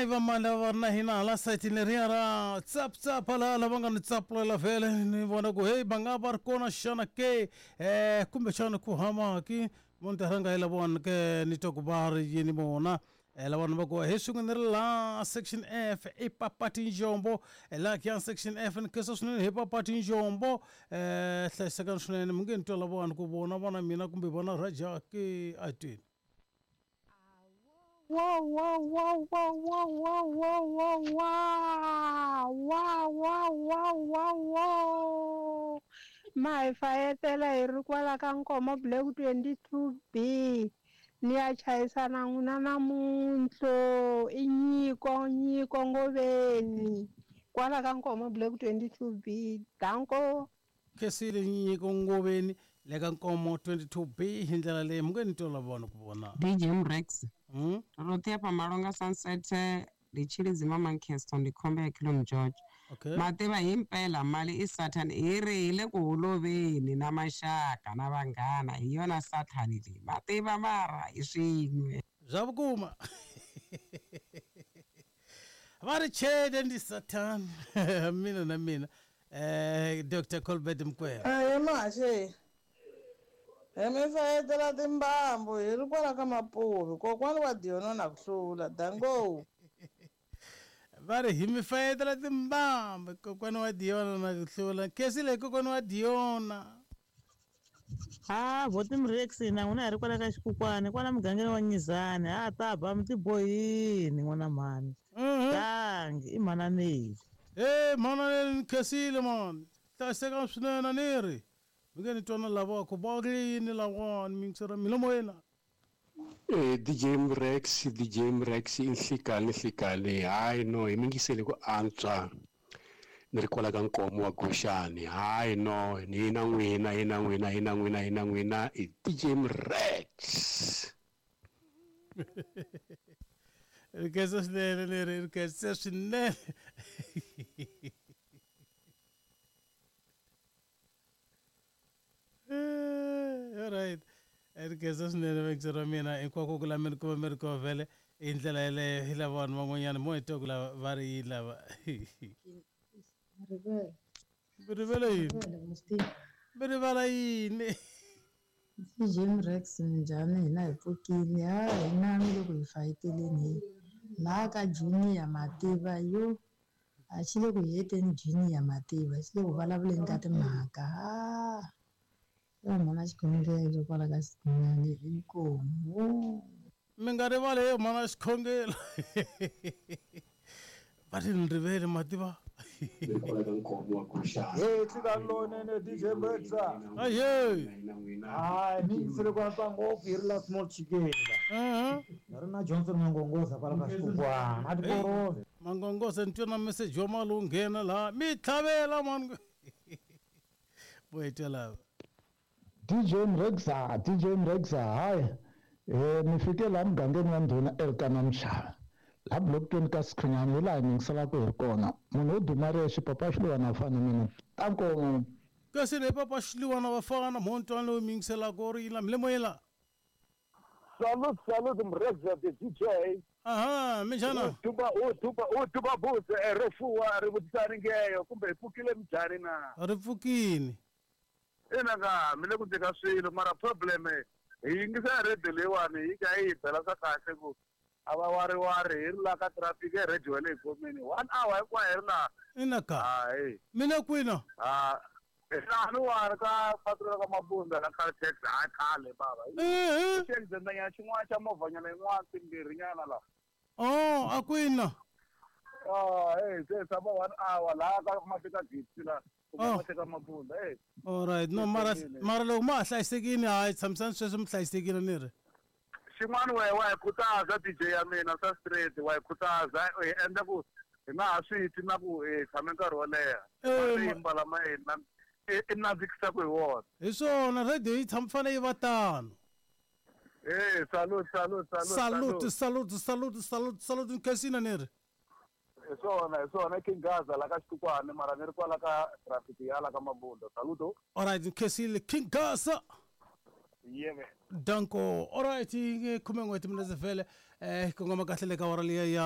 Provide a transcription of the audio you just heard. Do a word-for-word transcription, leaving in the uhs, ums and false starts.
I va mani lava va ri na hina hala sayitini leriya ra tsaptsapa laha lava nga ni tsapulela vhele ni vona ku heyi va nga va ri kona xana ke um kumbexana ku hamaki mo ni ta rhanga hi lavona ke ni twa ku va ri yini vona um lavona va ku he swin'we ni ri laha section F i Papati Njombo laha ku section F ni khensa swinene hi Papati Njombo um hlayisekani swinene mi nge ni twa lavona ku vona vana mina kumbe vona Raja ke a twini. Wow, wow, wow, wow, wow, wow, wow, wow, wow, wow, wow, wow, wow, wow. Ma hi fayetela hi ri kwala ka Nkomo Block twenty-two B. Ni ya chayisana n'wina namuntlho i nyiko nyiko ngoveni kwala ka Nkomo Block twenty-two B. Danko. Khensile nyiko ngoveni le ka Nkomo twenty-two B hi ndlela leyi mi nge ni twa lavona ku vona. D J Mrex. Mm? Roṱhe hafha Malonga Sunset ndi Tshilidzi Manchester ndi khombe ya Kilom George. Okay. Mativa hi mpela mali i Satan hi ri hi le ku holoveni na maxaka na vanghana hi yona Satan leyi. Mativa mara hi swin'we. Zwa vhukuma. Va ri chede ndi Satan. Mina na mina. Eh Doctor Colbert Mkwena. Aye maxe. Hi mi fayetela timbambu hi ri kwala ka Mapuvi kokwani wa Diona na ku hlula dango. Va ri hi mi fayetela timbambu kokwani wa Diona na ku hlula. Khensile kokwani wa Diona. Ha voti Mrex na n'wina hi ri kwala ka Xikukwani kwala mugangeni wa Nyizani ha ta ba mi tibohini n'wana mhani. Tangi i mhana Neli. Eh mhana Neli khensile mani. Hlayiseka swinene ni ri. Mi nge ni twana lava ku va ri yini lawani mi yingisela milomo yena. Eh D J Mrex D J Mrex i nhlikani nhlikani hayi no hi mi yingisele ku antswa ni ri kwala ka Nkomo wa Guxani hayi no ni na n'wina hi na n'wina hi na n'wina hi na n'wina i D J Mrex. Ri khensa swinene leri ri khensa swinene. All right. Ri khensa swinene vekisi ra mina hinkwako ku la mi ri kuma mi ri kona vhele hi ndlela yeleyo hi lava vanhu van'wanyana mo hi twa ku lava va ri yini lava. Rivele. Mi rivele yini? Mi rivala yini? D J Mrex minjhani hina hi pfukile ha hina mi le ku hi fayeteleni laha ka Junior Mativa yo a xi le ku heteni Junior Mativa xi le ku vulavuleni ka timhaka ha yo mhana xikhongelo kwala ka Xikunyani inkomu. Mi nga rivali yo mhana xikhongelo. Va ri ni rivele Mativa. Hey tlika lonene D J Mrex. Aye. Hayi mi yingisele ku antswa ngopfu hi ri la small chicken la. Mhm. Ni ri na Johnson Mangongoza kwala ka Xikukwana a tikorove. Mangongoza ni twa na message wa mali wu nghena laha mi tlhavela mani. Bo hi twa lava. D J Mrexa D J Mrexa hayi eh ni fike laha mugangeni wa ndhuna Elkana Mshava laha block twenty ka Sikhunyani hi laha hi yingiselaka hi ri kona munhu wo duma rexe papa Xiliwana vafana mina tanko. Kasi le papa Xiliwana vafana montwana lowu mi yingiselaka u ri yini la milemo yela. Salute salute Mrexa the D J. Aha minjhani? Tuba u tuba u tuba butse ro fuwa ri vutisani ngeyo kumbe hi pfukile minjhani na? Ri pfukile. Ina ka mi le ku tika swilo mara problem hi yingisa radio leyiwani yi ka yi bela swa kahle ku a va wariwari hi ri la ka traffic e radio ya le gomeni one hour hinkwayo hi ri laha. Ina ka hayi mi le kwini? Ha laniwani ka patu ra ka Mabunda la Caltex hayi khale bava xi accident-nyana xin'wana xa movhanyana yin'wana timbirhi nyana laha. Oh a kwini? Ah hey se tshama one hour laha ka Mafika Gate la. Oh. All right no mara mara loko ma ha hlayisekile hayi tshamisani sweswo mi hlayisekile ni ri. Xin'wana wehe wa hi khutaza D J ya mina swa straight wa hi khutaza hi endla ku hi nga ha swi twi na ku hi tshame nkarhi wo leha. Yi mbala ma hina i nandzikisaka hi wona. Hi swona radio yi tshama fanele yi va tano. Eh salute salute salute salute salute salute salute nkhensina ni ri. Hi swona hi swona King Gaza la ka Xikukwani mara ni ri kwala ka traffic ya la ka Mabunda. Saluto. All right nkhensile King Gaza. Yeve. Danko. All right khume n'we timinetse vhele eh kongoma kahle le ka awara liya ya